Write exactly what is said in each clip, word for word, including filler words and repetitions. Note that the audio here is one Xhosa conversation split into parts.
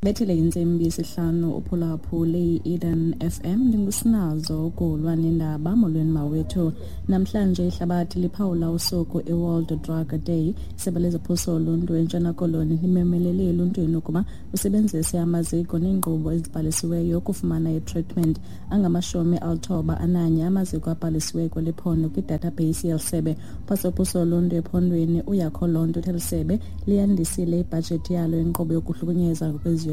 Bethile intsimbi yesihlanu uphulaphule i-Eden F M. Ndingusinazo ukulwa nendaba. Molweni mawethu. Namhlanje ihlabathi liphawula usuku i-World Drug Day. Isebe lezophuhliso oluntu eNtshona Koloni limemelele eluntwini ukuba usebenzise amaziko neenkqubo ezibhalisiweyo ukufumana i-treatment. Angamashumi alithoba ananye amaziko abhalisiweyo kweli phondo kwi-database yeli sebe. Umphathiswa oluntu ephondweni uYakho Lonto uthi eli sebe liyandisile ibhajethi yalo inkqubo yokuhlukunyezwa ngokweziyobisi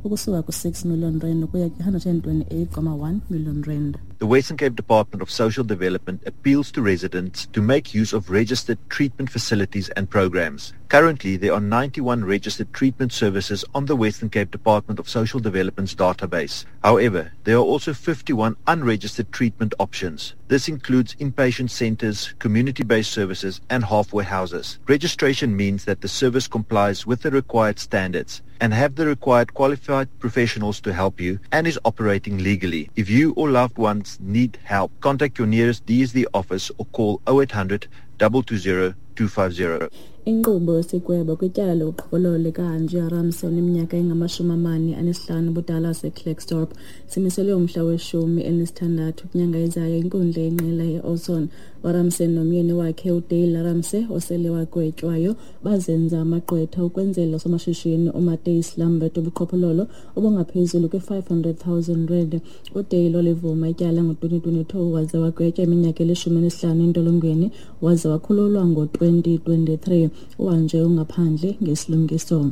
ukusuka ku-six million rand ukuya ku-one hundred and twenty-eight comma one million rand. The Western Cape Department of Social Development appeals to residents to make use of registered treatment facilities and programs. Currently, there are ninety-one registered treatment services on the Western Cape Department of Social Development's database. However, there are also fifty-one unregistered treatment options. This includes inpatient centers, community-based services, and halfway houses. Registration means that the service complies with the required standards and have the required qualified professionals to help you and is operating legally. If you or loved ones need help, contact your nearest D S D office or call oh eight hundred, double two zero, two five zero. Inkqubo yesigwebo kwityala lobuqhophololo likaAngie Ramsay oneminyaka engamashumi amane anesihlanu ubudala waseKlerksdorp simiselwe umhla weshumi elinesithandathu kwinyanga ezayo inkundla yenqila ye-Oudtshoorn. URamsay nomyeni wakhe uDale Ramsay osele wagwetywayo bazenza amagqwetha ukwenzela somashishini uMatthys Lambert ubuqhophololo obungaphezulu kwe-five hundred thousand rand. UDale olivuma ityala ngo-twenty twenty-two waze wagwetywa iminyaka elishumi elineshlanu entolongweni waze wakhululwa ngo-twenty twenty-three. Uhanjwe ungaphandle ngesilungiso.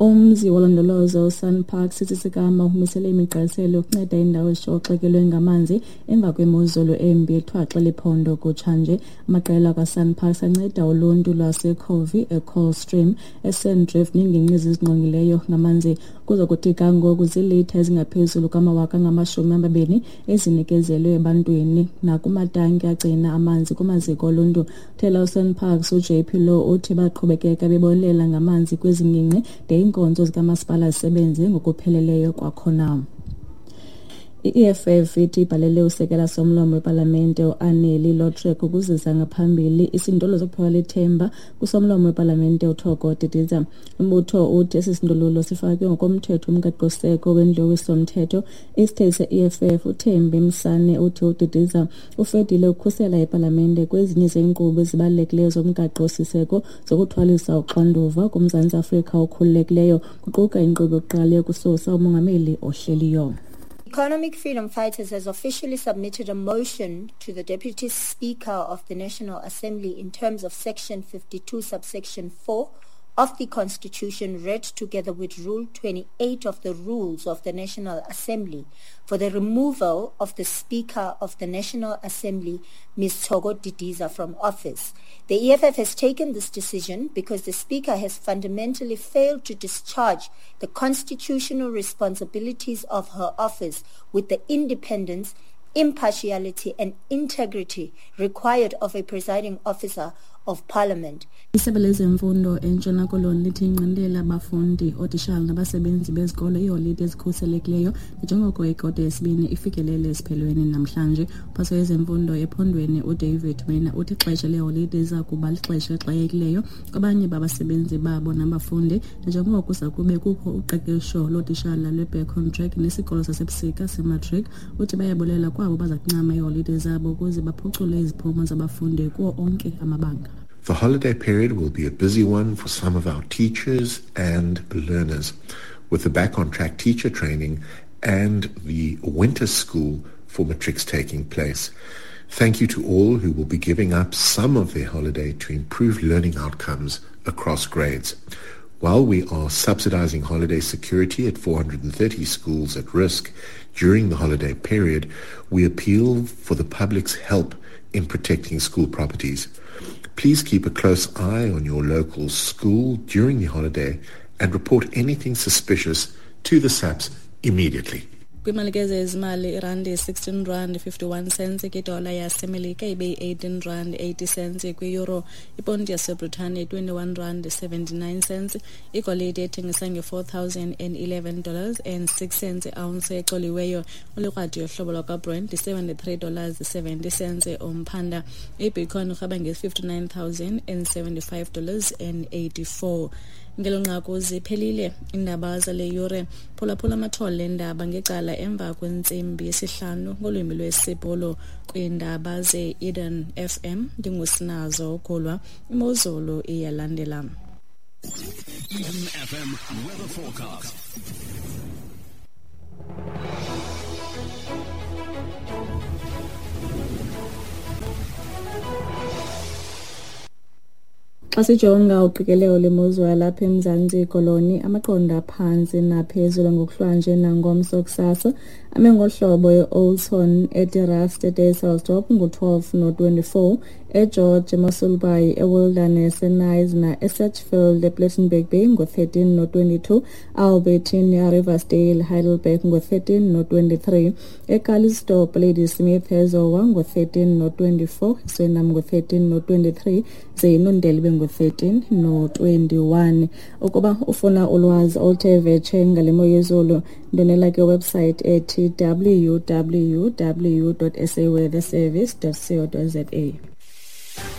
Umzi wolondolozo uSANParks sisikama umisele imigqaliselo yokunceda indawo ezishoxekelwe ngamanzi emva kwemozulu embi ethwaxe liphondo kutshanje. Amaqela kaSANParks anceda uluntu lwaseCovey, eColdstream, eSandrift neengingqi ezingqongileyo ngamanzi. Kuza kuthi ga ngoku ziilitha ezingaphezulu kwamawaka angamashumi amabini ezinikezelwe ebantwini nakumatanki agcina amanzi kumaziko oluntu. Uthela uSANParks uJ P Low uthi baqhubekeka bebonelela ngamanzi kwezi ngingqi de iinkonzo zikamasipala zisebenze ngokupheleleyo kwakhona. I-E F F ithi ibhalele usekela somlomo wepalamente uAneli Lotric ukuzisa ngaphambili isindululo sokuphelelwa lithemba kusomlomo wepalamente uThoko Didiza. Umbutho uthi esi sindululo sifakwe ngokomthetho umgaqoseko wendlu yowiso-mthetho. Isithethi se-E F F uThembi Msane uthi uDidiza ufedile ukukhusela ipalamente kwezinye zeenkqubo ezibalulekileyo zomgaqo-siseko zokuthwalisa uxanduva kuMzantsi Afrika okhululekileyo, kuquka inkqubo yokuqala yokususa umongameli ohleliyo. Economic Freedom Fighters has officially submitted a motion to the Deputy Speaker of the National Assembly in terms of Section fifty-two, subsection four of the Constitution, read together with Rule twenty-eight of the Rules of the National Assembly, for the removal of the Speaker of the National Assembly, Miz Thoko Didiza, from office. The E F F has taken this decision because the Speaker has fundamentally failed to discharge the constitutional responsibilities of her office with the independence, impartiality and integrity required of a presiding officer of Parliament. Isebe lezemfundo eNtshona Koloni lithi inqindela abafundi, ootishala nabasebenzi bezikolo iiholide ezikhuselekileyo njengoko ikota yesibini ifikelele esiphelweni namhlanje. Umphathiswa wezemfundo ephondweni uDavid Mina uthi ixesha leeholide liza kuba lixesha elixakekileyo kwabanye babasebenzi babo nabafundi njengoko kuza kube kukho uqeqesho lootishala lwe-Back on Track nesikolo sasebusika sematric. Uthi bayabulela kwabo baza kuncama iiholide zabo ukuze baphucule iziphumo zabafundi kuwo onke amabanga. The holiday period will be a busy one for some of our teachers and learners, with the Back on Track teacher training and the winter school for matrics taking place. Thank you to all who will be giving up some of their holiday to improve learning outcomes across grades. While we are subsidizing holiday security at four hundred and thirty schools at risk during the holiday period, we appeal for the public's help in protecting school properties. Please keep a close eye on your local school during the holiday and report anything suspicious to the S A P S immediately. Kwimalike zezimali irandi sixteen rand fifty-one cents kwidola yasemelika ibe yi-eighteen rand eighty cents kwi-euro, iponti yaseBritane twenty-one rand seventy-nine cents, igolide ethengisa nge-four thousand and eleven dollars and six cents i-ounce ecoliweyo, ulikrwadi yohlobo lwakwaBrent seventy-three dollars seventy cents umphanda, ibitcoin urhaba nge-fifty-nine thousand and seventy-five dollars and eighty-four. Ngelo nqaku ziphelile iindaba zale yure. Phulaphula amathole endaba ngecala emva kwentsimbi yesihlanu ngolwimi lwesiBhulu kwiindaba ze-Eden F M. Ndingusinazo Gulwa. Imozulu iyalandela. Eden F M weather forecast. Xa sijonga uqikelelo lwemozulu yalapha eMzantsi Koloni, amaqondo aphantsi naphezulu ngokuhlwanje nangomso kusasa ame ngohlobo e-Oldtown, eTerrace, eDysselsdorp ngu-twelve no-twenty-four, eGeorge, eMossel Bay, eWilderness, eKnysna, eSedgefield, ePlettenberg Bay ngu-thirteen no-twenty-two, Albertine, Riversdale, Heidelberg ngu-thirteen no-twenty-three, eCallisto, Ladysmith, eZowa ngu-thirteen no-twenty-four, Swellendam ngu-thirteen no-twenty-three, ze iNondeli ngu-thirteen no-twenty-one. Ukuba ufuna ulwazi oluthe vetshe ngale mo yezulu, ndonela ke website ethi w w w dot s a weather service dot co dot za.